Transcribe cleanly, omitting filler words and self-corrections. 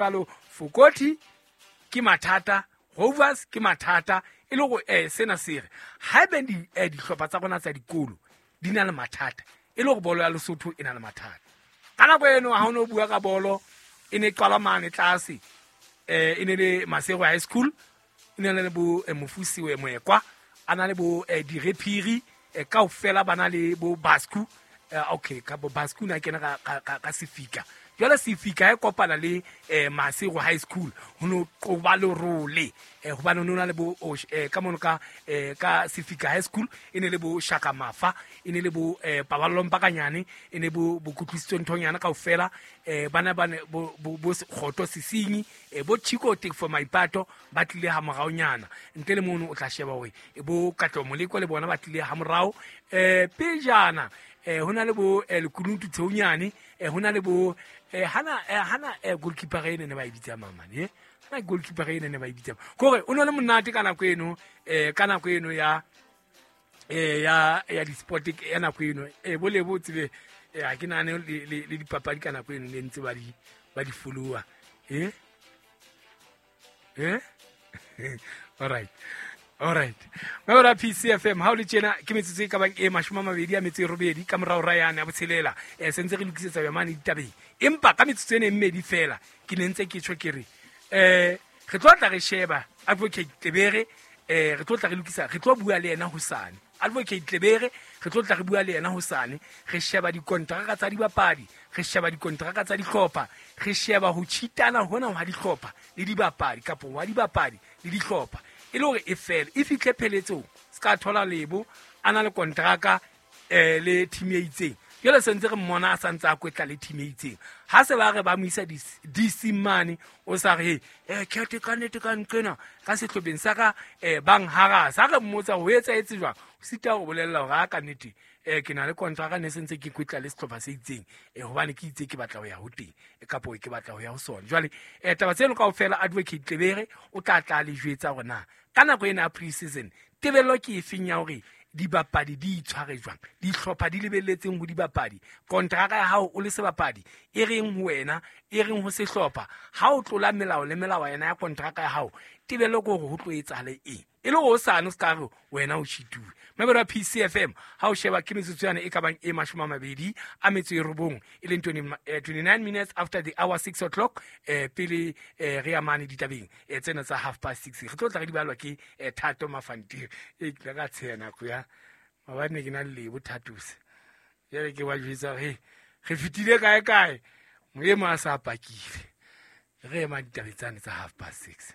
Jwalo Fokoti ke mathata, Rovers ke mathata, e le gore sena se re haebe dihlopha tsa rona tsa dikolo di na le mathata, e le gore bolo ya Lesotho e na le mathata. Ka nako eno ha o no bua ka bolo e ne qala mane tlase, e ne le Masego High School, e ne le bo Mofusi we Moekwa, a na le bo Direphiri, kaofela ba na le bo Basku. Okay, ka bo Basku na kena ka Sefika. Jwale Sefika e kopana le Masego High School, ho no qoba lerole, hobane ho na le bo ka mono ka Sefika High School e ne le bo Shaka Mafa, e ne le bo Paballo Mpakanyane, e ne bo Kutlwisiso Nthonyana kaofela, bana ba ne bo Kgoto Sesinyi, bo Chico Tefo Maipato ba tlile ha moraonyana. Ntle le mono o tla sheba hore bo Katleho Moleko le bona ba tlile ha morao. Pejana ho na le bo Lekunutu Theonyane, ho na le bo hana goalkeeper ene ne ba e bitsa mamane, hana goalkeeper ene ne ba e bitsa. Kore o ne le monate ka nako eno, ka nako eno ya ya di-sport ya nako eno. Bo le bo tsebe, ha ke nahane le dipapadi ka nako eno ne ntse ba di follower. All right. All right. Mabera PCFM ha o le tjena ke metsotso e ka bang e 28 ka morao ra yane ya botshelela. Sentse re lokisetsa ya mane ditabeng. Empa ka metsotso ena e mmedi fela ke ne ntse ke tjho ke re, re tlo tla re sheba Advocate Tlebere, re tlo tla re lokisa, re tlo bua le yena hosane. Advocate Tlebere re tlo tla re bua le yena hosane, re sheba dikontraka tsa dibapadi, re sheba dikontraka tsa dihlopha, re sheba ho cheatana hona ha dihlopha le dibapadi kapa wa dibapadi le dihlopha, e le hore e fele e fihle pheletsong. Se ka thola Lebo a na le kontraka le team e itseng, jwale se ntse re mmona a santse a kwetla le team e itseng. Ha se ba re ba mo isa DC mane, o sa re, khethe ka nnete ka nqena ka sehlopheng sa ka, bang harasa. Ha re mmotsa ho etsahetse jwang, o sita ho bolella hore ha ka nnete, ke na le kontraka ne se ntse ke kwetla le sehlopha se itseng, hobane ke itse ke batla ho ya ho teng, kapo ke batla ho ya ho sona. Jwale, taba tseno kaofela Advocate Tlebere o tla tla le jwetsa hore na ka nako ena ya pre-season tebello ke efeng ya hore dibapadi di itshware jwang, dihlopha di lebelletseng ho dibapadi, kontraka ya hao o le sebapadi e reng ho wena, e reng ho sehlopha. Ha o tlola melao le melao yena ya kontraka ya hao, tebello ke hore ho tlo etsahale eng, e le hore hosane o se ka re wena o cheatuwe. Mabelo a PCFM ha o sheba ke metsotso yane e ka bang e 29, e leng 29 minutes after the hour 6 o'clock, pele re ya mane ditabeng, tsena tsa 6:30. Re tlo tla re di balwa ke Thato Mafantiri. Ke tla ka tsheha nako ya maobane ne ke na le Lebo Thatose, jwale ke ba jwetsa hore re fetile kae kae, moemo a sa pakile. Re ema ditabeng tsane tsa 6:30.